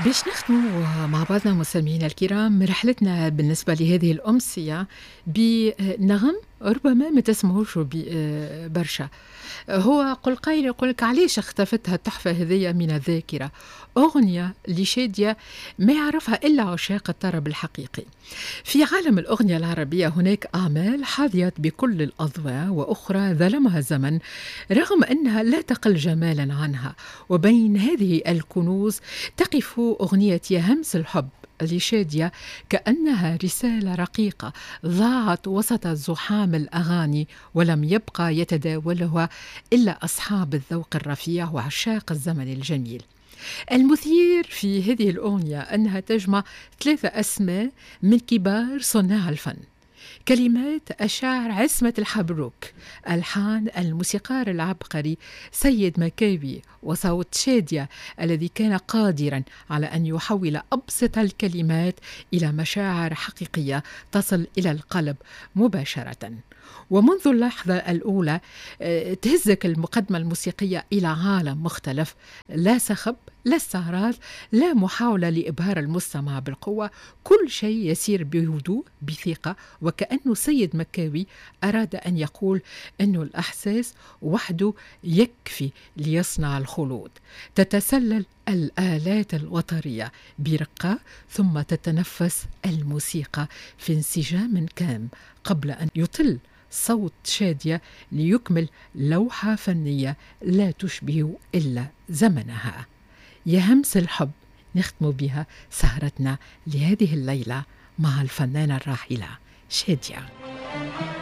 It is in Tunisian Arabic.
باش نختموا مع بعضنا مستمعينا الكرام رحلتنا بالنسبة لهذه الأمسية بنغم ربما ما تسمعوش برشا. هو قل قايل يقول لك علاش اختفت التحفة هذية من الذاكرة؟ أغنية لشادية ما يعرفها إلا عشاق الطرب الحقيقي. في عالم الأغنية العربية هناك أعمال حظيت بكل الأضواء وأخرى ظلمها الزمن رغم أنها لا تقل جمالا عنها، وبين هذه الكنوز تقف أغنية يا همس الحب لشادية كأنها رسالة رقيقة ضاعت وسط زحام الأغاني ولم يبقى يتداولها إلا أصحاب الذوق الرفيع وعشاق الزمن الجميل. المثير في هذه الأغنية أنها تجمع 3 أسماء من كبار صناع الفن: كلمات الشاعر عصمت الحبروك، ألحان الموسيقار العبقري سيد مكاوي، وصوت شادية الذي كان قادرا على أن يحول أبسط الكلمات إلى مشاعر حقيقية تصل إلى القلب مباشرة. ومنذ اللحظة الأولى تهزك المقدمة الموسيقية إلى عالم مختلف، لا صخب، لا استعراض، لا محاولة لإبهار المستمع بالقوة، كل شيء يسير بهدوء بثقة، وكأنه سيد مكاوي أراد أن يقول أن الأحساس وحده يكفي ليصنع الخلود. تتسلل الآلات الوترية برقة ثم تتنفس الموسيقى في انسجام كام قبل أن يطل صوت شادية ليكمل لوحة فنية لا تشبه إلا زمنها. يا همس الحب نختم بها سهرتنا لهذه الليلة مع الفنانة الراحلة شادية.